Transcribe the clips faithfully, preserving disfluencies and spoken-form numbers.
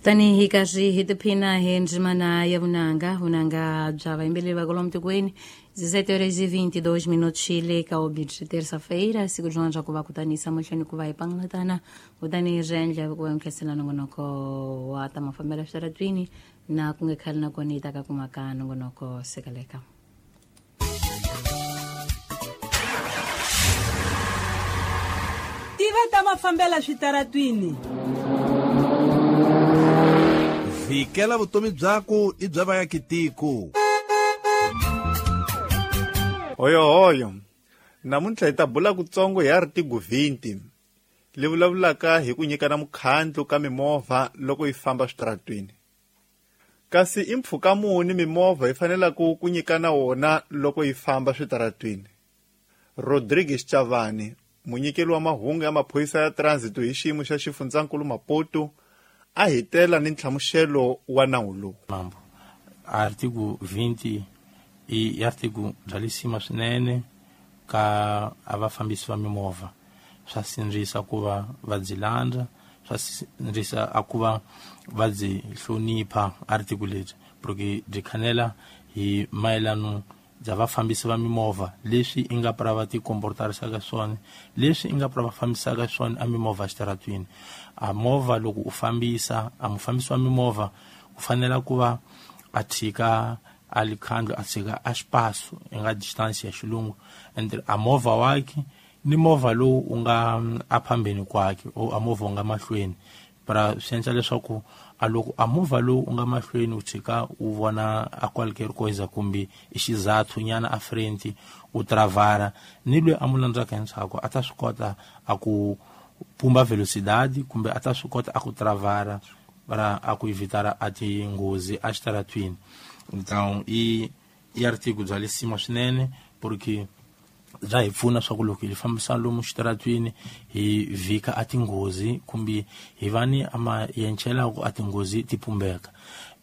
Kutani hi karhi hi tiphina hi ndzimana ya vunanga, vunanga bya vayimbeleri va kwalomu tikweni. dezessete horas e vinte e dois minutos le ka obit terça-feira, siku rin'wana ra ku va kutanisa mahlweni ku va hi pangalatana, kutani hi endla ku va nkhensela nongonoko wa ta mafambelo switaratwini na ku nge khale na kona yi ta ka kumaka nongonoko sekaleka. Tiva ta mafambelo switaratwini. Vikela vutomi byako i bya vaakitiko. Hoyo hoyo. Namuntlha hi ta bula kutsongo hi artigo vinte leyi vulavulaka hi ku nyikana mukhandlu ka mimovha loko yi famba switaratwini. Kasi i mpfhuka muni mimovha yi fanelaka ku nyikana wona loko yi famba switaratwini? Rodrigues Chavani, munyikeli wa mahungu ya maphorisa ya transit hi xiyimo xa xifundzankulu Maputo, a hi tela ni nhlamuselo wa nawu lowu. Mambo. Artigo vinte i artigo bya lisima swinene ka a vafambisi va mimovha. Swa sindzisa ku va va byi landza, swa sindzisa a ku va va byi hlonipha artigo lebyi, porque byi khanela hi mayelano bya vafambisi va mimovha leswi i nga pra va ti comportarisaka swona, leswi i nga pra va fambisaka swona a mimovha xitaratwini. A movha loko u fambisa, a mufambisi wa mimovha u fanela ku va a tshika a likhandlu, a tshika a xipaso i nga distance ya xilungu entre a movha wakhe ni movha lowu u nga a phambeni kwakhe o a movha u nga mahlweni. Pra swi endla leswaku a loko a movha lowu u nga mahlweni u tshika u vona a qualquer coisa kumbe i xizathu nyana a frente u travara, ni loyi a mu landzaka endzhaku a ta swi kota a ku pumba velocidade kumbe a ta swi kota a ku travara para a ku evitara a tinghozi a xitaratwini. Então i i artigo bya lisima swinene porque bya hi pfuna swa ku loko hi fambisa lomu xitaratwini hi vhika a tinghozi kumbe hi va ni ama yenchelaku a tinghozi ti pumbeka.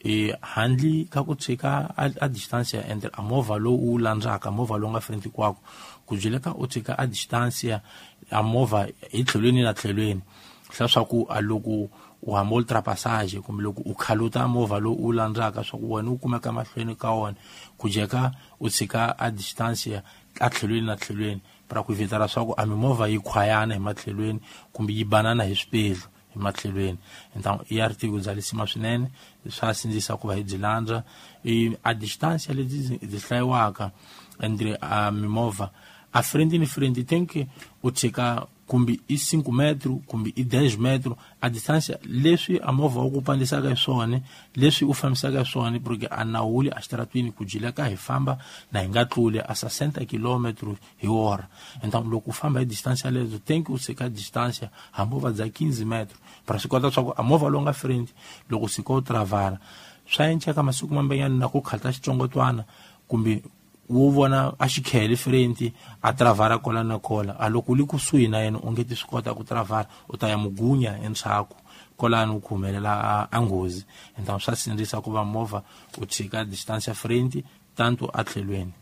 E handle ka ku tshika a distance entre a movha lowu u landzaka, movha lowu nga frente kwako, ku byeleka u tshika a distance a movha hi tlhelweni na tlhelweni, leswaku a loko u hamba ultrapassage kumbe loko u khaluta movha lowu u landzaka swa ku wena u kumeka mahlweni ka wona, ku jeka u tshika a distance a tlhelweni na tlhelweni para ku evitara swa ku a mimovha yi khwayana hi matlhelweni kumbe yi banana hi swipedlu hi matlhelweni. Então i artigo bya lisima swinene, swa sindzisa ku va hi byi landza. A distance lebyi byi hlayiwaka entre a mimovha a frente ni frente tem que u tshika kumbe i cinco metro kumbe i dez metro a distance leswi a movha wu ku pandisaka hi swona, leswi u fambisaka hi swona, porque a nawuli a xitaratwini ku jileka hi famba na hi nga tluli a sessenta kilometros hi hora. Então loko u famba hi distance yaleyo tem que u tshika distance hambi u va bya quinze metro para swi kota swa ku a movha lowu nga frente loko sika u travara swa enceka masiku mambenyana na ku khata xitsongotwana kumbe wo vona a xikhele frente a travara kola na kola, a loko u li kusuhi na yena u nge ti swi kota ku travara, u ta ya mugunya endzhaku kolani u ku humelela a nghozi. Então swa sindzisa ku va movha u tshika distance ya frente tanto a tlhelweni.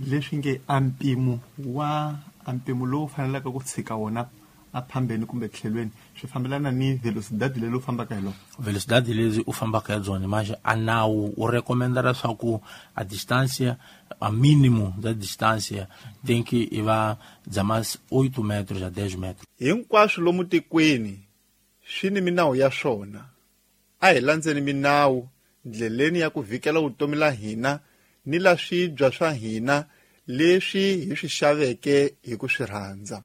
Leswi nge a mpimo wa a mpimo lowu fanelaka ku tshika wona a phambeni kumbe tlhelweni swi fambelana ni velocidade leyi u fambaka hi lona. Velocidade leyi u fambaka hi byona manje a nawu u recommenda leswaku a distance a mínimo da distância tem que i va bya mas oito metros a dez metros. Hinkwaswo lomu tikweni swi ni minawu ya swona. A hi landzeni minawu ndleleni ya ku vikela vutomi la hina ni la swibya swa hina leswi hi swi xaveke hi ku swi rhandza.